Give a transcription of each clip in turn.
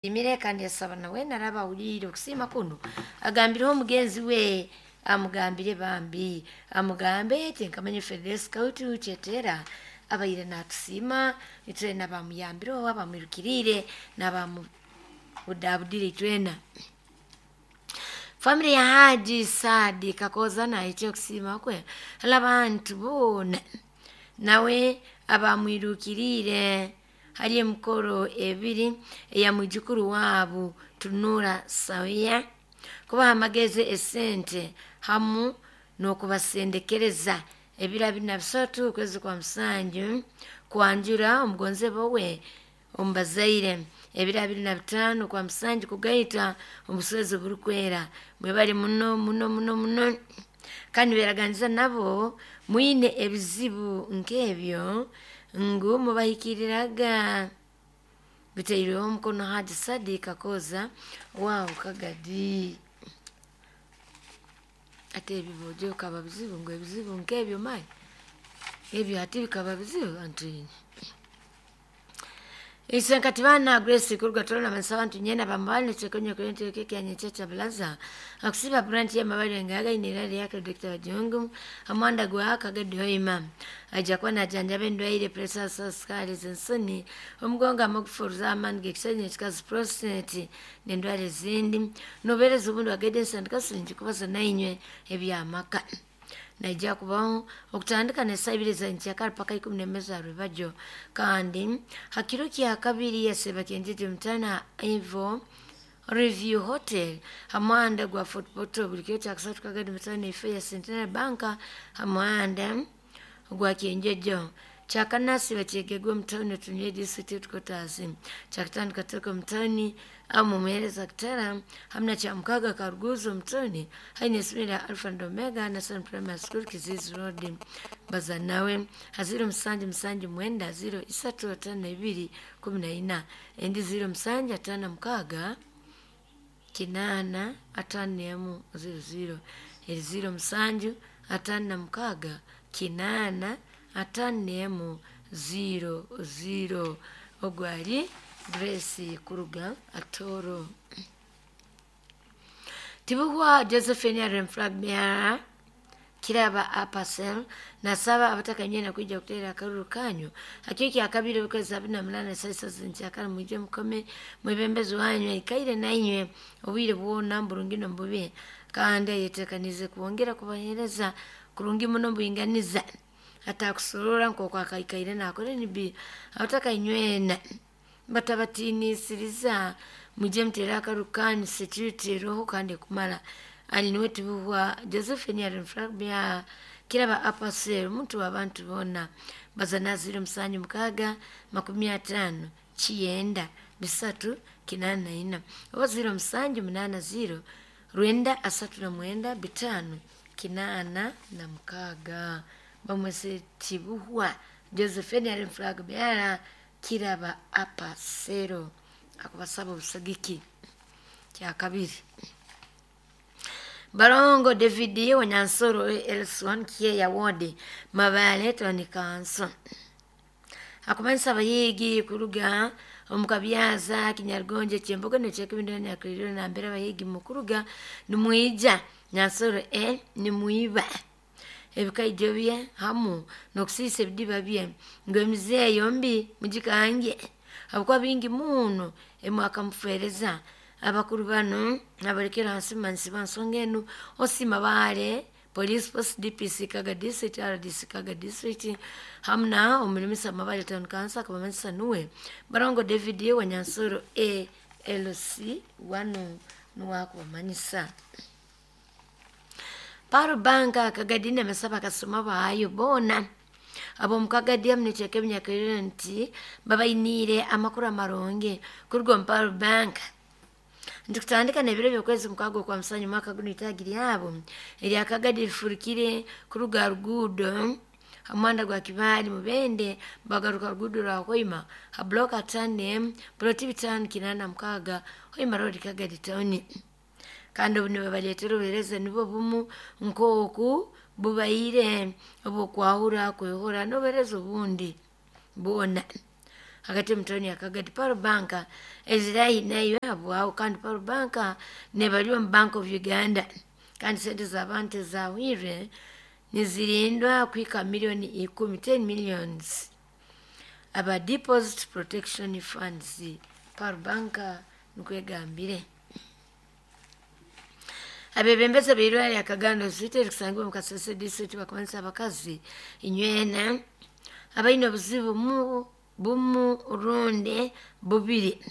Asiimire kandi yasaba nawe naraba awuliire okusiima kuno agambireho omugenzi we amugambire bambi amugambe ati nkamanya Federo Scout Kyetera abaire natusiima itwena bamuyambireho abamwirukiriire n'abamubudabudire itwena. Family ya Haji Saadi Kakoza naikye okusiima kwe hali abantu boona nawe abamwirukiriire hali emikoro ebiri eya mwijukuru waabu Tunura Sawia kubaha amagezi esente hamu n'okubasendekereza ebiro 23 okwezi kwa musanju kwanjura omugonzebwa we omu bazaire ebiro 25 kwa musanju kugaita omuswezi oburikwera mwebale muno muno muno muno kandi beraganiza nabo mwine ebizibu nk'ebyo ngu mubahikiriraga bitairweho omukono Haji Sadi Kakoza waawo Kagadi. Ate ebibojo bikaba bizibu ngu ebizibu nk'ebyo mayi ebyo hati bikaba bizibu anti Isenkati bana Grace kuruga tolona mansa abantu nyena bamubale chekonyo kwente keke anyechecha bulaza akusiba branch ya mabale ngaga inirali yake Dr. Jungu amwanda gwa Kagadi hoima aja kuba najanjaba endwaire pressure sukari zensoni omugongo amagufuruza amani gekisanye kikazi prostate n'endwara ezindi nobereza obundi wagede sandika siringi kubaza nainywe ebyamaka naija kubaho okutandika nesaa ibiri za nkyakara paka 11 za rwebagyo kandi hakiro kya kabiri yaseba kenjeje mutana Ivo Review Hotel hamwanda gwa Fort Portal buli kiro kya kasatu Kagadi mutana ife ya Centenary Bank hamwanda gwa Kyenjejo kyakanasi bakyegegwe mutawuni tunye district headquarters kyakatano Katoko mutawuni amu muhereza kitara hamna kya mukaga Karuguzo mutawuni haine essomero lya Alpha and Omega National Primary School Kizizi Road baza nawe ha 0779 0352 14 endi 0756 8 51 00 eri 07 56 8 51 00 ogwo ari Grace kuruga Atoro. Tibuhwa Josephine Remfragmera kiraba apasel nasaba abatakanyena kwija kuteera akaruru kanyu hakio kya kabiri okwezi 28 saa zinkyakara mwije mukome mwebembezi wanyu aikaire nainywe obwire bwona mburungi nombubi kandi ayetekanize kwongera kubahereza kurungi muno mbwinganiza atakusorora nk'oku akaikaire nakora nibi abatakainywena batabatiinisiriza mwije mutere akaruru kanyu security eroho kandi ekumara ali niwe Tibuhwa Josephine Arenfrabia kiraba apasel omuntu w'abantu boona baza na 07 6 50 9 384 oba 0780 939 5 86 bamwese Tibuhwa Josephine Arenfrabia kiraba apasero akubasaba obusagiki kya kabiri. Barongo David Wanyansoro Elson Kieya Ward Mabale Tony Kanso akumanisa abayigi kuruga omukabyaza Kinyargonje Kyembogo nekyekibindu nyakuliro nambere abayigi mukuruga nimwija Nyansoro e nimwiba ebikaijo bye hamu n'okusiisa ebidiba bye ngu emize yombi mugikange habwokuba bingi muno emwakamufereza abakuru bano abalekera hansi mansi bansonga enu osima baale police post DPC Kaga district RDC Kaga district hamu na omulimisa Mabale town council akabamanyisa nuwe Barongo David Wanyansoro ALC wanu nuwakubamanyisa. Paro Banka Kagadi namesaba akasoma baayo boona ab'omu Kagadi hamu nekyeka ebinyakaliro nti babainiire amakuru amarungi kuruga omu Paro Bank nti kutandika n'ebiro by'okwezi mukaaga okwa musanju mwaka guno itaagi lyabo erya Kagadi rifurukire kuruga ruguudo hamuhanda gwa Kibaale Mubende bagaruka ruguudo rwa Hoima ha block 5 ploti 586 Hoima Road Kagadi town kandi obu nibabaleetera obuheereza nibwo bumu nk'oku bubaire obw'okwahura kwehora n'obuheereza obundi bwona. hagati omu tawuni ya Kagadi. Pearl Bank ezirahi nayo habwaho, kandi Pearl Bank nebali omu Bank of Uganda, kandi sente z'abantu ezahwirwe nizirindwa kuhika milioni 10, 10 millions aba deposit protection funds. Pearl Bank nikwegambire. Abebembezi b'eirwaro lya Kagando Hospital erikusangibwa omu Kasese district bakumanyisa abakazi inywena abaine obuzibu bumu rundi bubiri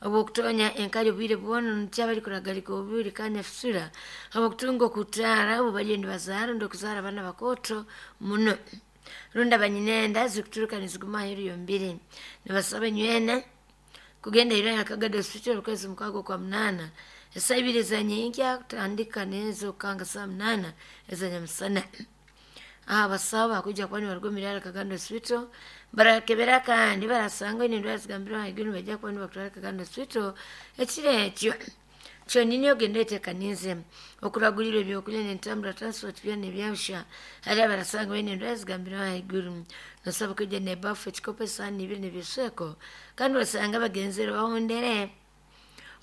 obwokutonya enkali obwire bwona nukyo abarikuragarika obubiri kandi efisura habwokutunga okutaara obu bariyo nibazaara rundi okuzaara abaana bakooto muno rundi abanyinenda zikuturuka niziguma aheeru y'omubiri. Nibasaba inywena kugenda irwaro lya Kagado Hospital okwezi 6 kwa 8 esaa 2 ezanyenkya kutandika n'ezokukanga saa 8 ezanyamusana. Aha abasawo bakwija kuba nibaruga omu irwariro Kagando Hospital barakebera kandi barasanga oine endwara zigambirwe ahaiguru nibaija kuba nibakutwara Kagando Hospital ekiro ekyo. Kyonini ogende oyetekaniize okuragulirwa ebyokurya n'entambura transport byona ebyabusha hariho abarasanga baine endwara zigambirwe ahaiguru. Nosaba kwija n'ebafu, ekikopo, esaani ibiri n'ebisweko kandi osanga bagenzere bahondere.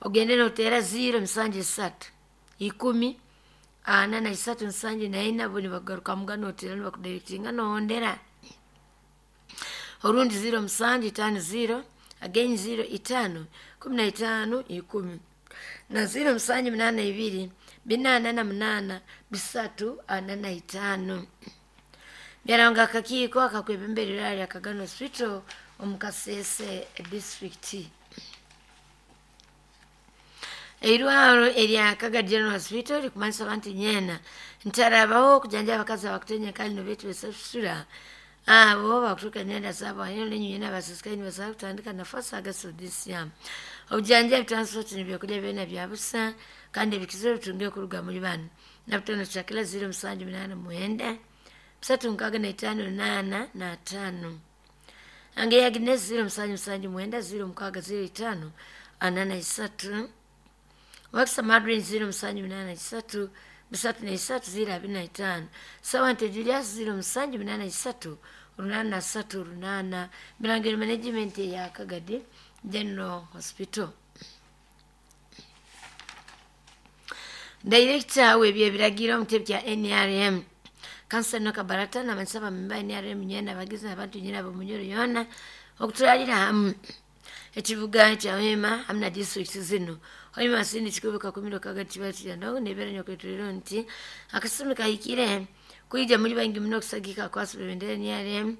Ogende noteera 0 7 3 10 4 3 7 4 bo nibagarukamuga noteera nibakudirectinga nohondera. Orundi 0 7 5 0 again 0 5 15 10 na 0 7 8 2 4 8 3 4 5. Byaranga akakiiko akakwebembera irwaro lya Kagando Hospital omu Kasese district. Eirwaro erya Kagadi General Hospital rikumanyisa abantu nyena ntarabaho okujanja abakazi abakutenya enkali nobetu besafisura abo bakuturuka nenda zabo aheeru n'enyina abasisikaye nibasobola kutandika nafasi August of this year. Obujanjabi transport n'ebyokurya byona bya busa kandi ebikizire bitunge kuruga muri banu. Nabutano Shakila 0 7 8 9 3 6 5 8 5. Ange ya Agnes 0 7 7 9 0 6 0 5 4 3. Wakisa Madrin 0 7 8 3 3 3 0 2 5. Sawante Julius 0 7 8 3 8 3 8. Birangiro Management ya Kagadi General Hospital. Director w'ebyebiragiro omu kitebe kya NRM Kansala Noka Barata n'amanyisa abamemba NRM nyena abagizi n'abantu nyena ab'omunyoro yoona okutwarira hamu ekibuga kya Hoima hamu na disitulikiti zinu. Hoima Masindi Kikubi Kakumiro Kagadi Kibaale Kiryandongo nebeera nyokwetuliro nti akasumi kahikire kwija muri baingi muno okusagika akwasi bebendera NRM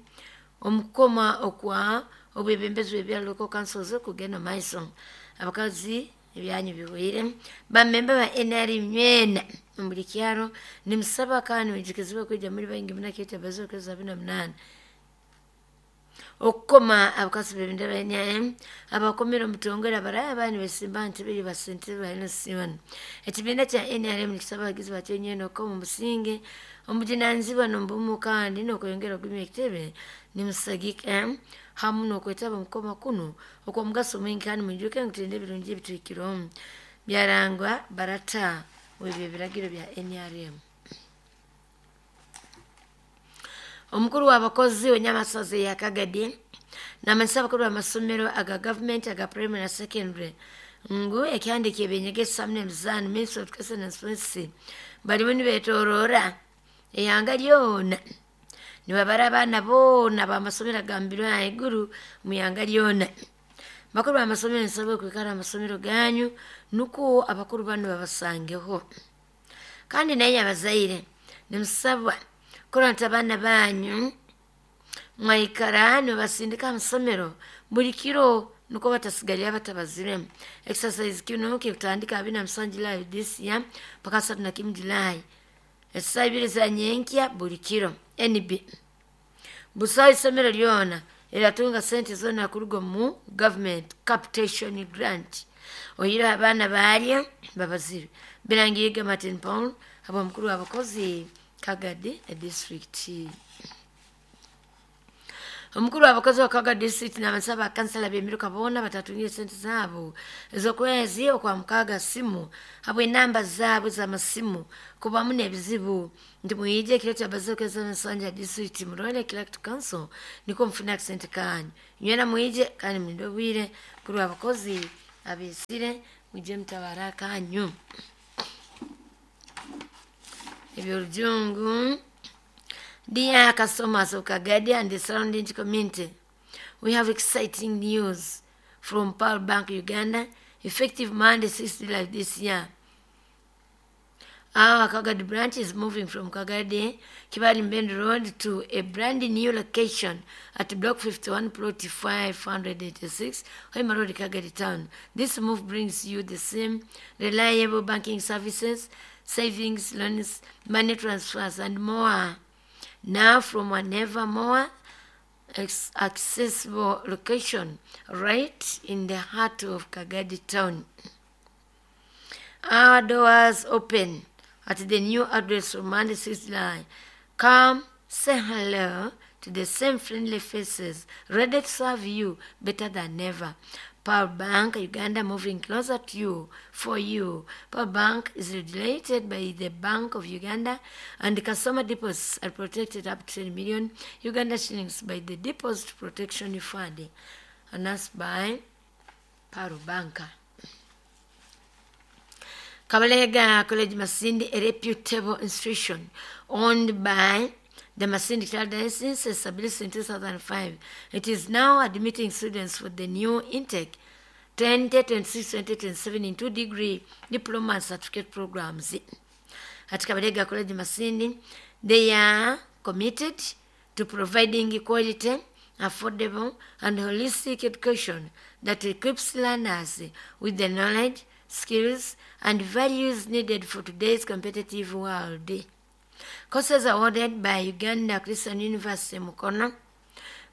omukukoma okwa obwebembezi bw'ebyaro local councils okugenda omu maiso. Abakazi ebyanyu bihweire bamemba ba NRM nywena omu buri kyaro nimusaba kandi mwijukizibwe kwija muri baingi muno aketabaza okwezi 28 okukoma abakazi bebendera NRM abakomera omutongole abaraya abandi besimba nti biri basente ba LC1. Ekibiina kya NRM nikisaba abagizi bakyo nywena okukoma omusinge omujunanizibwa n'omubumu kandi n'okweyongera okugumya ekitebe nimusagika hamu n'okwetaba omukoma kunu okw'omugaso mwingi kandi mwijuke ngu tulinde ebirungi ebituhikirwemu. Byarangwa Barata w'ebyebiragiro bya NRM. Omukuru w'abakozi w'enyamasozi ya Kagadi n'amanyisa abakuru b'amasomero aga gavumenti aga primary na secondary ngu ekihandiiko eby'enyegesa hamu n'emizaano Ministry of Education and Sports barimu nibetorora eihanga ryona nibabara abaana boona b'amasomero agambirwe ahaiguru omu ihanga ryona. Bakuru b'amasomero nisabwa okwikara aha masomero ganyu nukwo abakuru banu babasangeho. Kandi naye abazaire nimusabwa kurora nti abaana banyu mwaikara nibabasindika aha masomero buri kiro nukwo batasigarira batabaziremu. Exercise kinu kikutandika 27 Julai this year mpaka 31 Julai esaa 2 za nyenkya buri kiro. NB busaho isomero ryona eriratunga sente zoona kuruga omu government capitation grant oyireho abaana baryo babazirwe. Birangirwe Martin Paul habw'omukuru w'abakozi Kagadi district. Omukuru w'abakozi wa Kaga District n'abasaba bakansala b'emiruka boona batatungire sente zaabo ez'okwezi okwa mukaaga simu habw'enamba zaabo z'amasimu kubamu n'ebizibu nti mwije ekiro kya bazookeza ensanja district murole clerk to council nikwo mufune akasente kanyu nywena mwije kandi mulinde obwire. Mukuru w'abakozi abeesire mwije mutabara akanyu. Eby'orujungu. Dear customers of Kagadi and the surrounding community, we have exciting news from Pearl Bank Uganda, effective Monday 6 July this year. Our Kagadi branch is moving from Kagadi, Kibali Mbend Road to a brand new location at Block 51, Plot 586, Hoima Road, Kagadi Town. This move brings you the same reliable banking services, savings, loans, money transfers, and more. Now from a never more accessible location right in the heart of Kagadi Town. Our doors open at the new address from Monday 6 July. Come say hello to the same friendly faces, ready to serve you better than ever. Pearl Bank Uganda, moving closer to you, for you. Pearl Bank is regulated by the Bank of Uganda, and customer deposits are protected up to 10 million Uganda shillings by the Deposit Protection Fund, announced by Pearl Bank. Kabalega College Masindi, a reputable institution owned by the Masindi Diocese, established in 2005. It is now admitting students for the new intake 2026-2027 in 2-degree diploma and certificate programs. At Kabalega College Masindi, they are committed to providing quality, affordable, and holistic education that equips learners with the knowledge, skills, and values needed for today's competitive world. Courses awarded by Uganda Christian University Mukono: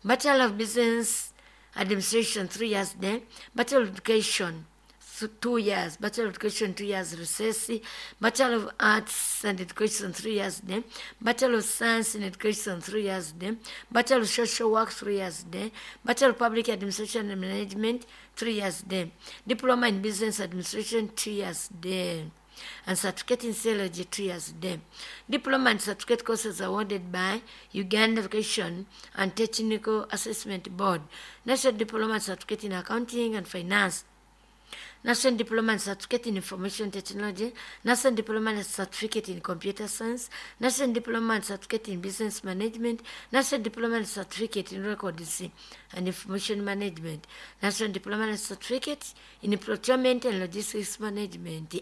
Bachelor of Business Administration, 3 years then, Bachelor of Education, 2 years, Bachelor of Education, 2 years recess, Bachelor of Arts and Education, 3 years then, Bachelor of Science and Education, 3 years then, Bachelor of Social Work, 3 years then, Bachelor of Public Administration and Management, 3 years then, Diploma in Business Administration, 2 years then, and Certificate in Theology, 2 years then. Diploma and certificate courses awarded by Uganda Education and Technical Assessment Board: National Diploma and Certificate in Accounting and Finance, National Diploma and Certificate in Information Technology, National Diploma and Certificate in Computer Science, National Diploma and Certificate in Business Management, National Diploma and Certificate in Records and Information Management, National Diploma and Certificate in Procurement and Logistics Management.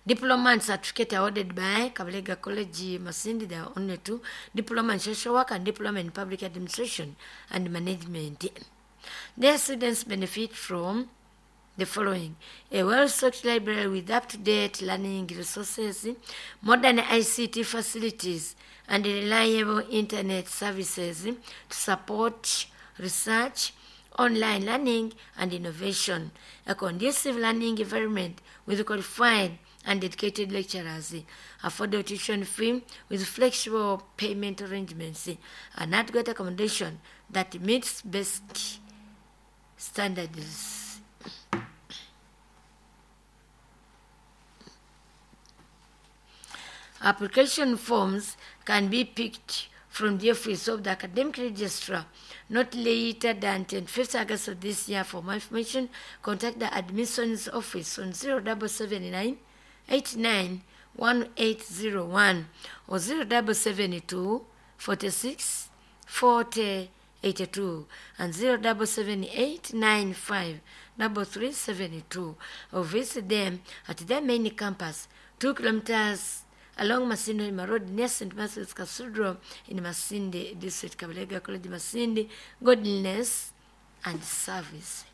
Diploma and certificate awarded by Kabalega College Masindi, there are only two: Diploma in Social Work and Diploma in Public Administration and Management. Their students benefit from the following: a well-stocked library with up-to-date learning resources, modern ICT facilities, and reliable internet services to support research, online learning, and innovation, a conducive learning environment with qualified and dedicated lecturers, affordable tuition fee with flexible payment arrangements, and adequate accommodation that meets best standards. Application forms can be picked from the office of the academic registrar not later than 25th August of this year. For more information, contact the admissions office on 0779 89 1801 or 0772 46 40 82 and 0778 95 3372, or visit them at their main campus, 2 kilometers along Masindi Road near St. Matthew's Cathedral in Masindi District. Kabalega College Masindi, godliness and service.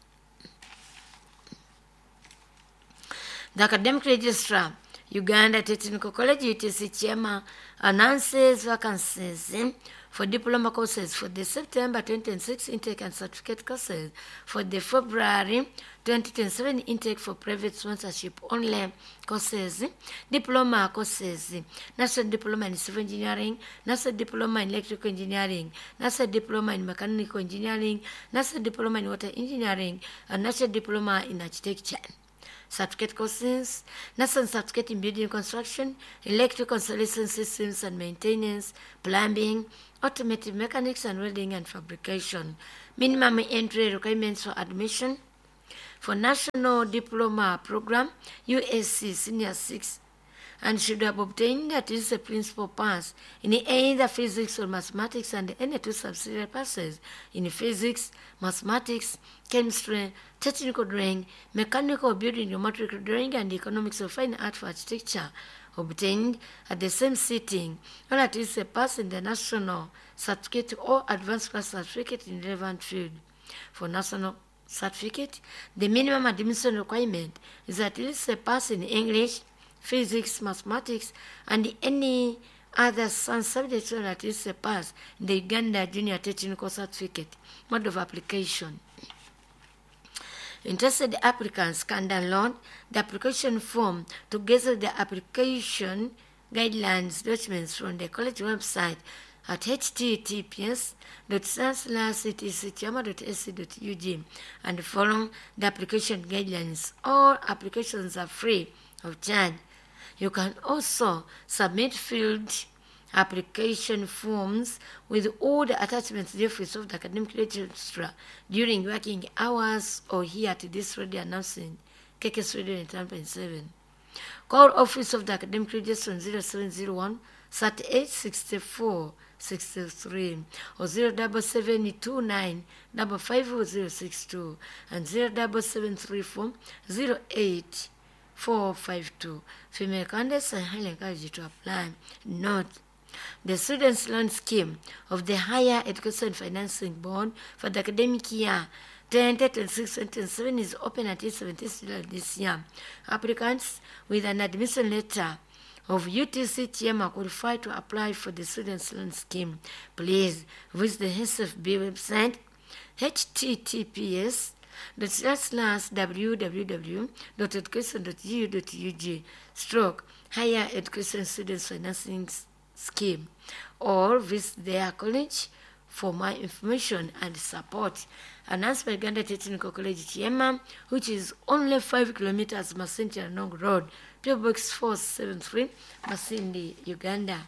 The academic registrar, Uganda Technical College UTC Chairman, announces vacancies for diploma courses for the September 2026 intake and certificate courses for the February 2027 intake for private sponsorship only courses, diploma courses, National Diploma in Civil Engineering, National Diploma in Electrical Engineering, National Diploma in Mechanical Engineering, National Diploma in Water Engineering, and National Diploma in Architecture. Certificate courses, National Certificate in Building Construction, Electrical Installation Systems and Maintenance, Plumbing, Automotive Mechanics and Welding and Fabrication. Minimum entry requirements for admission for National Diploma Program, USC Senior 6, and should have obtained at least a principal pass in either physics or mathematics and any two subsidiary passes in physics, mathematics, chemistry, technical drawing, mechanical building, geometric drawing, and economics of fine art for architecture obtained at the same sitting, or at least a pass in the national certificate or advanced class certificate in relevant field. For national certificate, the minimum admission requirement is at least a pass in English, physics, mathematics, and any other science subject or at least a pass in the Uganda Junior Technical Certificate. Mode of application. Interested applicants can download the application form together with the application guidelines documents from the college website at https://ctcchiama.ac.ug and follow the application guidelines. All applications are free of charge. You can also submit filled application forms with all the attachments to the office of the academic registrar during working hours or here at this radio announcement, KKS Radio 9.7. Call office of the academic registrar on 0701 38 64 63 or 07729 55062 and 07734 08 452. Female candidates are highly encouraged to apply. Note, the Students' Loan Scheme of the Higher Education Financing Board for the academic year 2026-2027 is open until 17th July this year. Applicants with an admission letter of UTC TM are qualified to apply for the Students' Loan Scheme. Please visit the HSFB website https www.education.gu.ug stroke higher education students financing scheme or visit their college for more information and support. Announced by Uganda Technical College Chiema, which is only 5 kilometers Masindi Nong Road, PO Box 473, Masindi, Uganda.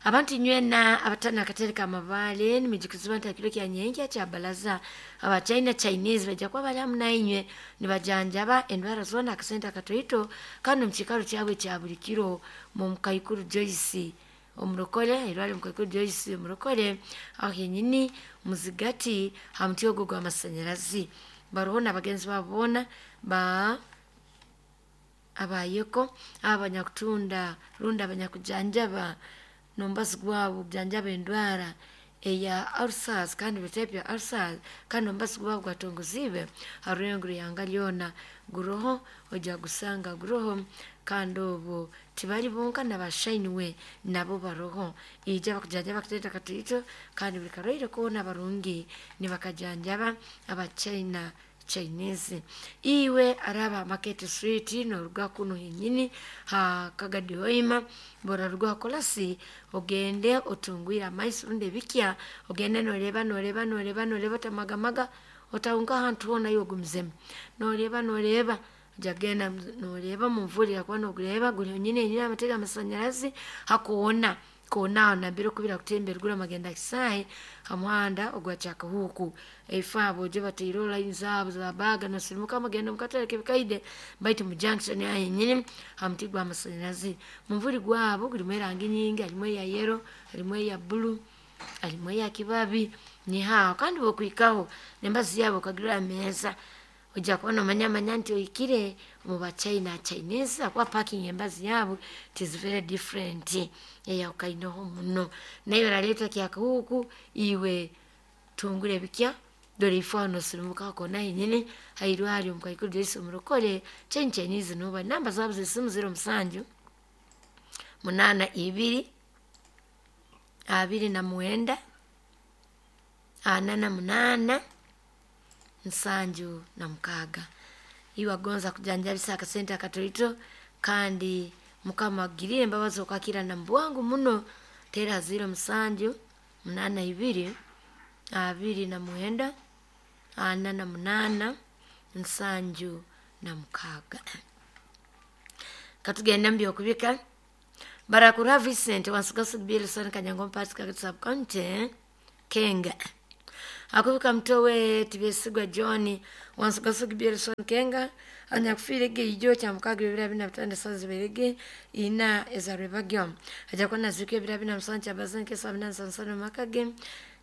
Abantu nywena abatana akatereka amabaale nimijukizibwa nti akiro kya nyenkya kya balaza abachina Chinese bajja kuba bali hamu nainywe nibajanjaba endwara zoona akasente akatoito kandi omu kiikaro kyabwe kya buli kiro mu Mukaikuru Joyce omurokole erwali Mukaikuru Joyce omurokole aho henyini muzigati ha muti ogwo gw'amasanyarazi baroho n'abagenzi babo boona ba abayeko abanyakutunda rundi abanyakujanjaba nombazi gwabo kujanjaba endwara eya ulcers kandi buli type ya ulcers, kandi ombazi gwabo gwatongoziibwe ha rurengo ihanga lyona guroho ojja gusanga guroho. Kandi obwo tibali bonka nabashainiwe nabo baroho ija bakujanjaba akatente katoito kandi buli karwaire koona barungi nibakajanjaba abachina Chinese. Iwe araba Market Street noruga kuno henyini ha Kagadi Hoima boraruga kolasi ogende otungwire amaiso rundi ebikya ogende noreba noreba noreba noreba otamagamaga otahunga ahantu hoona iwe ogumizemu noreba noreba ojagenda noreba mumvurira kuba nogureba guri honyine henyini amatega amasanyarazi hakoona koona aho nambere okubira kutembera gura magenda kisaayi ha muhanda ogwa Kyakahuuku. Eifo abo oje bataireho line zaabo za baga nosirimuka mugenda mukatale k'ebikaide baitu mu junction aho henyini ha muti gw'amasanyarazi. Mumvuri gwabo gurimu erangi nyingi, harimu eya yellow, harimu eya blue, harimu eya kibabi nihaho kandi bwokuhikaho n'embazi yaabo okagirora ameeza ojja kuba nomanyamanya nti ohikire omu bachina Chinese ahakuba parking embazi yaabo it is very different eyahukaineho muno. Naiwe oraleetwa Kyakahuuku iwe tungura ebikya dora ifo aho nosirimuka koona henyini hairwaryo Mukaikuru Joyce omurokole China Chinese noba namba zaabo z'esimu 07 82 29 48 76. Iwe agonza kujanjabisa akasente akatoito kandi Mukama agirire embabazi okwakira na mbwangu muno, tera 07 82 29 48 76. Katugenda mubyokubika. Barakura Vincent wansugasu Bilson Kanyango Mpati Kagati Sub County Kenga. Akubika mtowe Tibesigwa John wansugasu Bilson Kenga anyakufiire ijo kya mukaga ebiro bina bitano sazi berege ina ezarwebagyo aja kona zikwe ebiro bina musanju kyabazanke sabina nsansano makage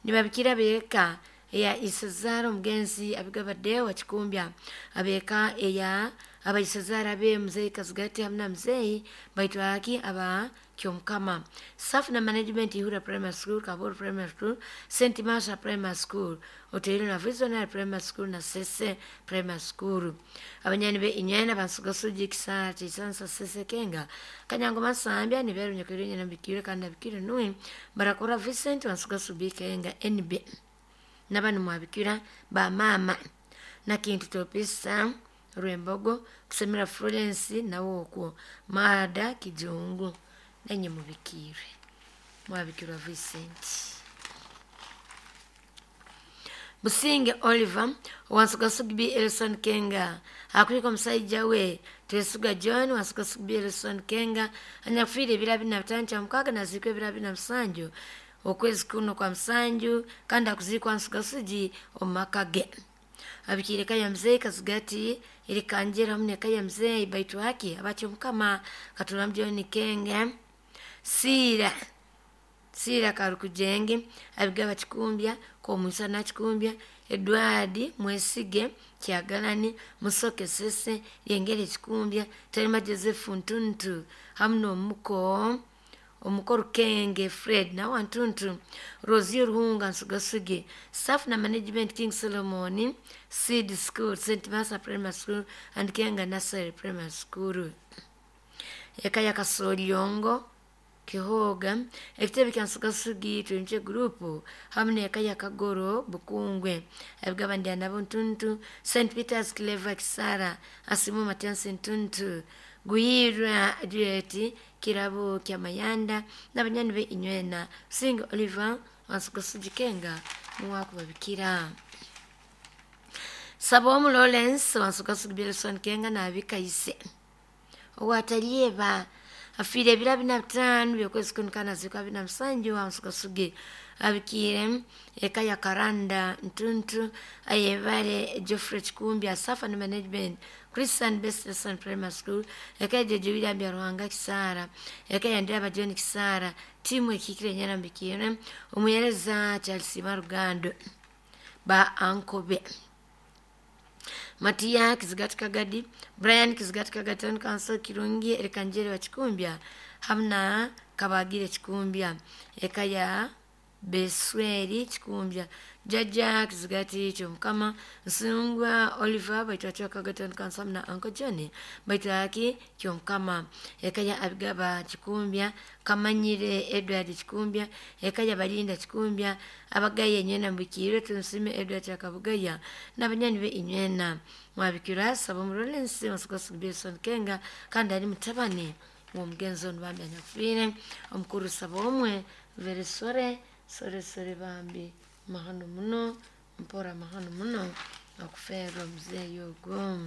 nibabikira beka eya Isezara omugenzi abigabadde wa Kikumbya abeka eya abaisezara be mzee Kazigati hamna mzee baitwaki aba Kyomukama. Staff na management Ihura Primary School, Kaburu Primary School, St. Marsha Primary School, Otero na Visionary Primary School na Sese Primary School. Abanyani be inyena bansugasuji kisara chisansa Sese Kenga. Kanyango Masambya ni beru nyakirunya na bikire kandi bikire nui barakora Vincent bansugasubi Kenga NB. Nabanu mwabikira ba mama na kintu topisa Rwembogo kusemera Florence nawo okwo Mada Kijungu nenye mubikire mwabikirwa Vincent. Businge Oliver wansugasugi Elson Kenga akwiko musajja we Twesuga John wansugasugi Elson Kenga anyakufiire ebiro bina bitano kya mukaga nazikwa ebiro bina musanju okwezi kuno kwa musanju kandi akuzikwa nsugasugi omu maka ge. Abikire kaya mzee Kazigati ilikanjera hamne kaya mzee baitu haki abacho mukama katula John Kenga sira sira karukujenge abigaba Kikumbya ko na Kikumbya Edward Mwesige Kyagalani Musoke Sese Lyengere Kikumbya Terima Joseph Ntuntu hamno omuko omukoro Kenge Fred na wantuntu Rosie Ruhunga Nsugasuge. Staff na management King Solomon Seed School, St. Martha Primary School and Kenga Nursery Primary School. Eka ya Kasoliongo Kihoga ekitebe kya Nsugasugi twimche group hamne eka ya Kagoro Bukungwe abigaba ndi nabo Ntuntu St. Peter's Clever Kisara Asimu Matias Ntuntu Guyirwa Juliet Kirabo kya Mayanda n'abanyani be inywena Sing Oliver wansugusugi Kenga muwakubabikira. Sabomu Lawrence wansugusugi Bilson Kenga nabikaise owatalieba afire ebiro bina bitano byokwezi kuno zikwa bina musanju wansugusugi abikire eka ya Karanda Ntuntu ayebale Geoffrey Kikumbya Safa na management Christian Best Primary School eka ya Jeje William Ruhanga Kisara eka ya Ndaba John Kisara timu ekikire nyana mbikire omuyereza Charles Marugando ba Ankobe Matia Kizigati Kagadi Brian Kizigati Kagati Council Kirungi Erikanjere wa Kikumbya hamna Kabagire Kikumbya eka ya Besweri Kikumbya Jaja Kizigati Kyomukama Nsungwa Oliver baitwa Kagati Council na Uncle John baitwa Kyomukama eka ya Abigaba Kikumbya Kamanyire Edward Kikumbya eka ya Balinda Kikumbya abagaye nywena mbikire tunsime Edward Kabugaya n'abanyani be inywena mwabikira sabo Lawrence wansugusugi Bilson Kenga kandi ari mutabani omugenzi ono bambi anyakufiire omukuru Sabomwe very sore sore sore bambi mahano muno mpora mahano muno okufeerwa omuzeeyi ogwo.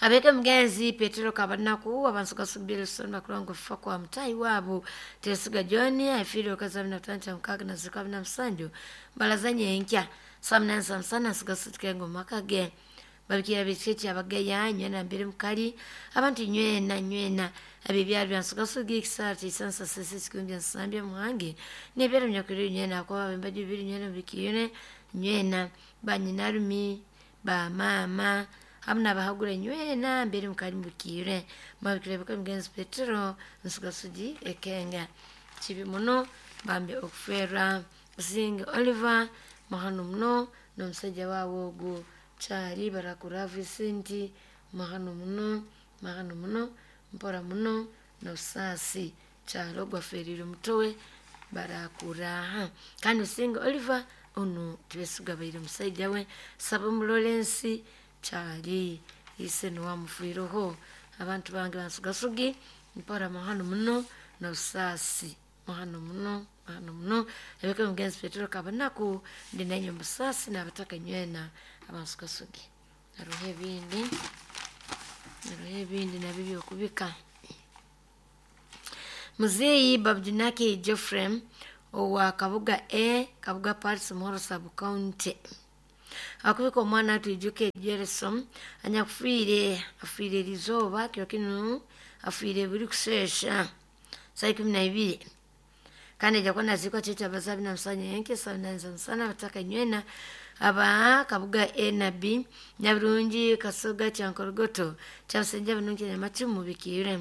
Abeka mugenzi Petero Kabanaku abansugasugi Bilson bakulanga okufa kwa mutayi waabo Twesuga John afiire okazi bina bitano kya mukaga na zikwa bina musanju balazanye enkya saa munana saa musana nsugasugi Kenga omu maka ge. Babikira bekiki abagaya nywena mbere mukali abantu nywena nywena abibyalo bya Nsugasugi Kisara chisansa Sese Kikumbya Nsambya Muhangi nebyalo nyakwire nywena kwa bembaji bibiri nywena bikire nywena banyinarumi ba mama hamna bahagura nywena mbere mukali mubikire mabikire baka mugenzi Petero Nsugasugi Ekenga kibi muno bambe okufera Businge Oliver mahano muno n'omusajja waawe ogwo Chari barakura Vincent mahano muno mpora muno n'obusaasi Kyalo gwaferire mutowe barakuraha kandi Businge Oliver Onu Tibesigwa abaire omusaija we Sabumu Lawrence Kyali ise niwe abantu bange bansugasugi mpora muhano muno n'obusaasi muhano muno muhano muno ebeka omugenzi Petero Kabanaku ndi nanye omusaasi n'abataka nywena abansugasugi. Haroho ebindi, haroho ebindi nabyo byokubika. Muzeeyi Babujunaki Geoffrey owa Kabuga A, Kabuga Paris Muhoro Sub County. Akubika omwana atwijuke Jerison anyakufiire afiire erizooba kiro kinu afiire buri kuseesha saa 12 kandi ajja kuba naziikwa kyekyo abazabi na musanya yenke saa 8 za musana abataka nywena aba Kabuga A na B Nyabirungi Kasoga Kyankorogoto Kyabusenja Bunungi Nyamacumu bikiire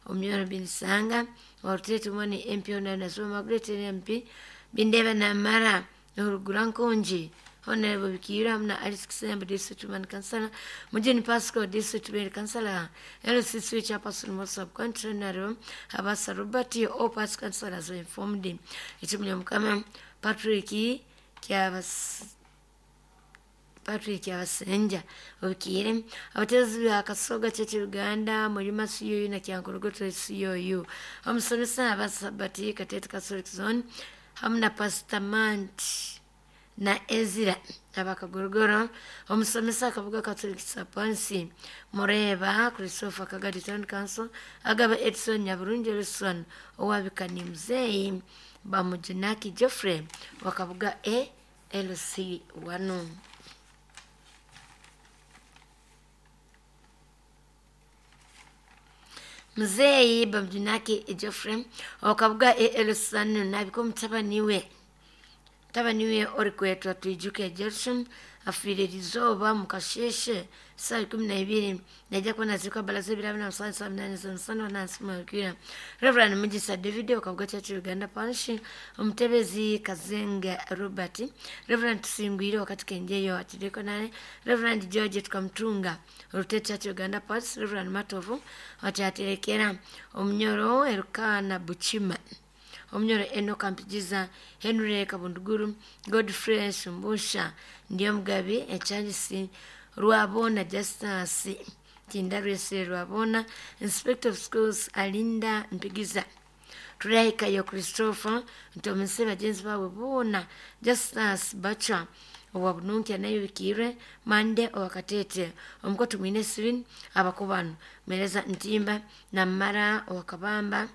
Omyoro Binisanga Warutete Mwani MP Honarebo Margaret MP Bindeba Namara Norugura Nkongi Honorable Bikira hamna Alice Kisembe District Women Councillor Mujini Pascal District Women Councillor LCC Chairperson Mosa Country Honorable Habasa Robert all party councillors were informed. Ekimu Mukama Patrick Kyabas Patrick Abasenja obikiire abatezi ba Kasoga Church Uganda Mulima CUU na Kyankorogoto CUU omusomesa Abasabati Katete Catholic Zone hamwe na Pastor Manti na Ezira abakagorogoro omusomesa Kabuga Catholic Sapansi Mureba Christopher Kagadi Town Council Agaba Edson Nyaburungi Wilson owabikani muzeeyi Bamujunaki Geoffrey wa Kabuga A LC 1. Muzeeyi Bamujunaki Geoffrey wa Kabuga A LC 1 nabiko mutabani we orikwetwa Twijuke Gerson afiire erizooba mukasheshe saa 12 naija kuba naziikwa balaza ebirabo na musanju saa 8 za musana wanansi mwabikira Reverend Mugisa David wa Kabuga Church Uganda Parish omutebezi Kazenga Robert Reverend Tusingwire wakati Kenjeyo atidekonale Reverend George Tukamtunga Orute Church Uganda Parish Reverend Matovu watyaterekera Omunyoro Erukana Buchima Omunyoro Enoka Mpigiza Henry Kabunduguru Godfrey Shumbusha Ndiyo Mugabi Echarles Rwabona Justus Tindarwese Rwabona Inspector of Schools Alinda Mpigiza Turahikayo Christopher Ntomise bagenzi bawe boona Justus Bacha owa Bununki nayo bikiire Mande owa Katete omukotu mwine Sirin abakubano Mereza Ntimba na Mara owa Kabamba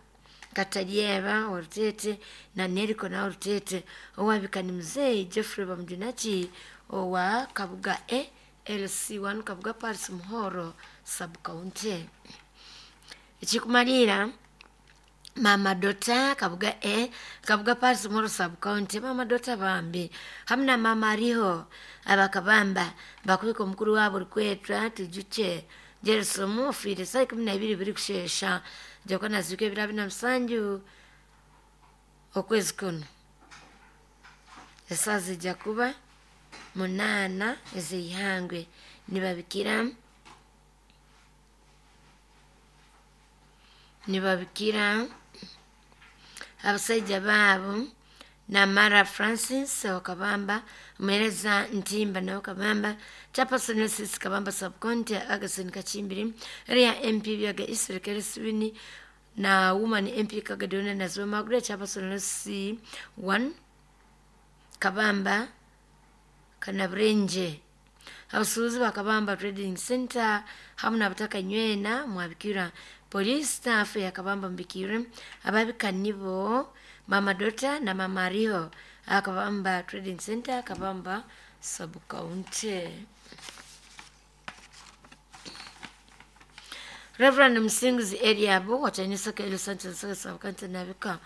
Katalyeba Orutete na Neriko na Orutete owabikani muzeeyi Geoffrey Bamujunaki owa Kabuga A LC1 Kabuga Paris Muhoro Sub County. Ekikumalira Mama Dota Kabuga A Kabuga Paris Muhoro Sub County Mama Dota bambi hamna Mama Ariho abakabamba bakubika omukuru wabo orikwetwa Tujuche Jerison ofiire saa 12 buri kushesha jakuba naziika ebiro abiri na musanju okwezi kuno esaaha zijja kuba 8 ez'eihangwe nibabikira abasaija baabo Namara Francis wa Kabamba Mwereza Ntimba na Kabamba Chairperson Mrs. Kabamba Subcounty Agason Kachimbiri area MP Byaga Isirikere Sibini na Woman MP Kagadona na Zoma Margaret Chairperson C1 Kabamba Kanabrenje abasuubuzi ba Kabamba Trading Center hamwe n'abataka nywena mwabikira police staff ya Kabamba mbikire ababika nibo Mama Dota na Mama Riho Akabamba Trading Center Kabamba Sub County. Reverend Msinguzi Eliabu watanyisaka Elo Sanchez Sub County nabika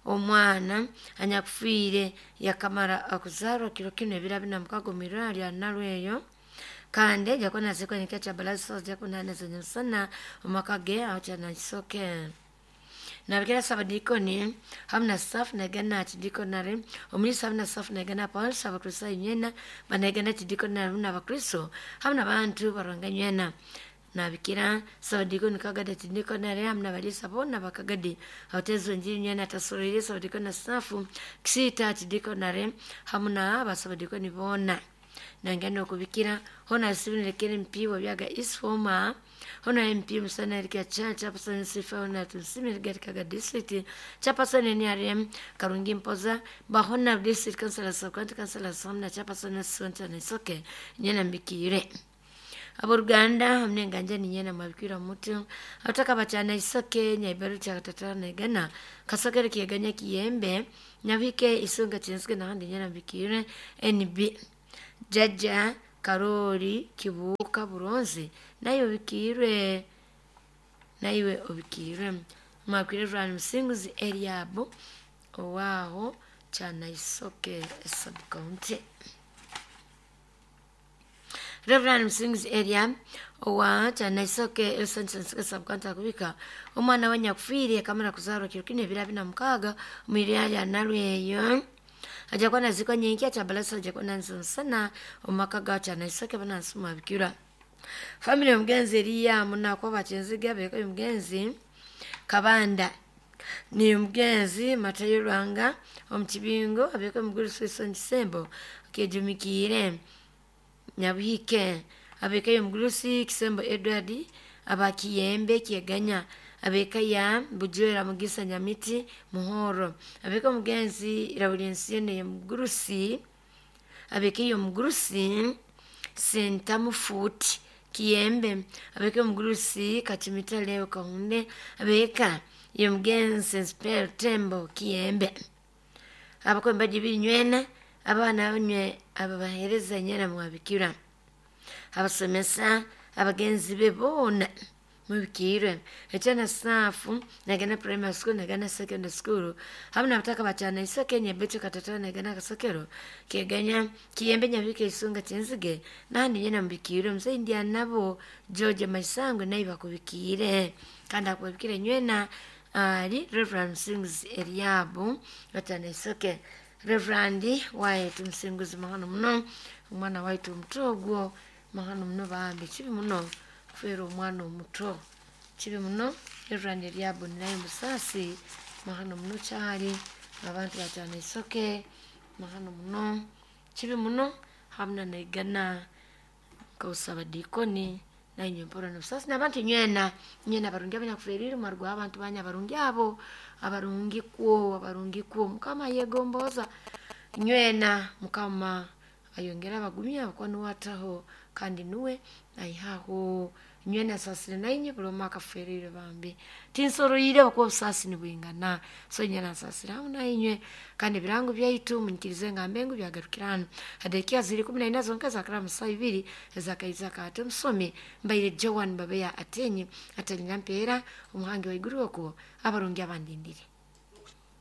omwana anyakufiire yakamara akuzarwa kiro kino ebiro abiri na mukaga omu irwariro lya Nalweyo kandi jakuba naziikwa nikya kya balaza jakuba nane musana omumaka ge aho kyanakisoke. Nabikira sabadikoni hamwe na staff nagana chidikonare omulisa hamwe na staff nagana Paul abakristo nywena banagana chidikonare hamwe n'abakristo hamwe n'abantu baranga nywena. Nabikira sabadikoni Kagadi atidikonare hamu n'abaliisa boona bakagadi abateezi b'enjiri nywena atasoroire sabadikoni na safu Kisita atidikonare hamu na basabadikoni boona. Nangana okubikira hona sibinilekere MP wa Byaga East former hona MP Musana Erika Chacha Chairperson Sifa hona Tunsimire Kaga District Chairperson NRM Karungi Mpoza bahona District Councilor Sub-County Councilor Somna Chairperson Sonta Nisoke nyena mbikire aboruganda hamwe nganja ninyena mabikira mutu ataka bachana isoke nyaibaru cha katatana negana kasokere kieganya kiyembe nyabike isunga chinsuke nahandi nyena mbikire NB Jaja Karori Kibuka Buronzi nayo bikirwe naiwe obikirwe mwakwire Ryan Musinguzi Eliabu owaho chana isoke sub county. Reverend Musinguzi Elia owa chana isoke esansansuke sub county akubika omwana we nyakufiire akamara kuzarwa kiro kine ebiro abina mukaaga omwirya lya Nalweyo ajakuwa nazikwa nyenki achabalasa ajakuwa nansonsana omumaka ga chana isoke banansuma bikira family omugenzi eriya munakwa bakinziga beka omugenzi Kabanda ni omugenzi Matayo Rwanga omukibingo abeka omuguru Wilson Kisembo kejumikiire Nyabuhike abeka omugurusi Kisembo Edward abakiyembe Kieganya abeka ya Bujwera Mugisa Nyamiti Muhoro abeka omugenzi Rawulensiyo omugurusi abeka omugurusi Sentamufuti Kiyembe abeka omugurusi Kachimita Leo Kahunde abeka yomugenzi Spell Tembo Kiyembe abakwemba jibinywena abaana banywe ababahereza nyena mwabikira abasomesa abagenzi be boona mubikirwe echana safu nagana primary school nagana secondary school hamwe nabataka bachana isoke nyebecho katatana nagana kasokero keganya kiyembe nyabike isunga chenzige nandi nyena mubikirwe mzee ndia nabo George Maisangwe naye bakubikire kandi akubikire nywena ali Reverend Musinguzi Eliabu bachana isoke Reverend waitu Musinguzi mahano muno omwana waitu omuto ogwo mahano muno bambi kibi muno kufeera omwana omuto kibi muno. Reverend Eliabu naye musasi mahano muno kyali abantu bachana isoke mahano muno kibi muno hamuna naigana kausaba dikoni nainye mpora nobusasi nabantu nywena nywena abarungi abanyakuferire mwarugwa abantu banya abarungi abo abarungi kwo mukama yegomboza nywena mukama ayongera abagumya abakuba nuwataho kandi nuwe aihaho nywena asasire nainye buli omu akaferire bambi tinsoroire bakuba obusasi nibwingana so nyena nsasire hamu nainywe kandi ebirango byaitu munyikirize ngambe ngu byagarukira hanu hadekia ziri 14 zonka zakara musa ibiri ezakaiza kate omusomi mbaire Joan Babeya atenyi atanyina mpeera omuhangi wa iguru okwo abarungi abandindire.